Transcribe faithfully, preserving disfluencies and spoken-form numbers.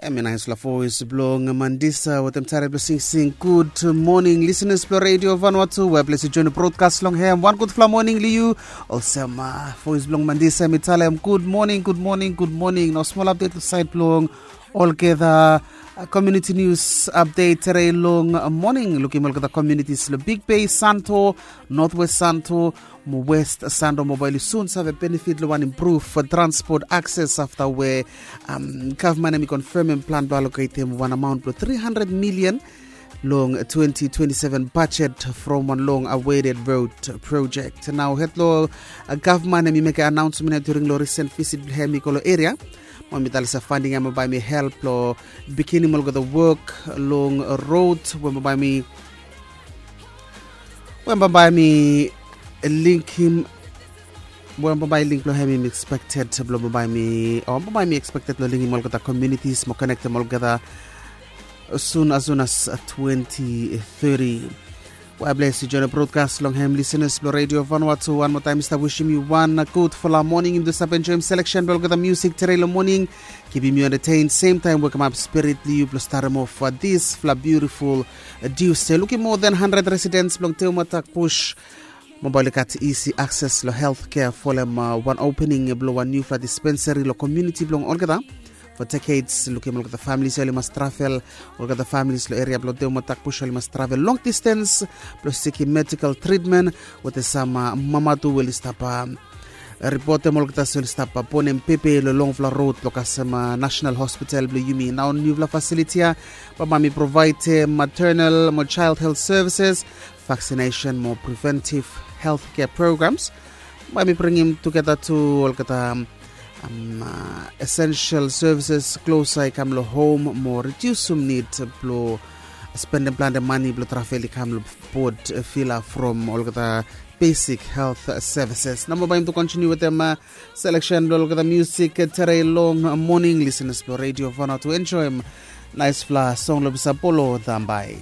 Em i naispela voes bilong Mandisa wetem tare bilong singsing. Gud moning, lisenas bilong Radio Vanuatu, we ples i join broadcast long hem. Wan gudfala moning long yu. Olsem voes bilong Mandisa em i talem gud moning, gud moning, gud moning. No smol update long sait bilong olgeta community news update tere long moning. Lukim olgeta communities long Big Bay, Santo, Northwest Santo, mo West Santo, mo bae oli sun save benefit long wan improve for transport access afta we um, gavman em i confirmim plan blong allocatem wan amount blong three hundred million long twenty twenty-seven budget from wan long awaited road project. Nao hed long uh, gavman em i mekim announcement ya during long recent visit blong hem i go long area. Mo mi talisa funding em bae mi help long beginning olgeta work long road we bae mi we bae mi linkim we bae link blong hem i expected blong bae mi o bae mi expected blong linkim olgeta communities mo connectem olgeta soon as soon as twenty thirty. Well, bless you, join the broadcast long hem listeners blong Radio Vanuatu. One more time, Mister Wishing you one good for la morning. Im do stap enjoy im selection blong olgeta music tere long morning. Keeping you entertained, same time welcome up spirit blong yu blong start him off for this fla beautiful uh, Tuesday. Looking more than hundred residents blong Teumatak push mobile kat easy access lo healthcare folem uh, wan opening blong wan new fla dispensary lo community blong olgeta. For decades lukim olgeta families oli mas travel, olgeta families lo area blong Teumatak push oli mas travel long distance blong seeking medical treatment. Wetem sam uh, mama tu we oli stap uh, ripotem olgeta se oli stap uh, bonem pepe lo longfala rod lo kasem uh, National Hospital blong yumi. Nao niufala fasiliti ya bae mi provaidem maternal mo child health services, vaccination mo preventive healthcare programs. Bae mi bringim tugeta tu olgeta um, uh, essential services klosa i kam lo hom mo redusim nid blo spendem plante mani blo travel i kam lo bod fila from olgeta basic health services. Namo bae im tu kontiniu wetem uh, selection blo olgeta music tere long morning listeners blo Radio Vanuatu enjoim naispela song lo bisa polo dambai.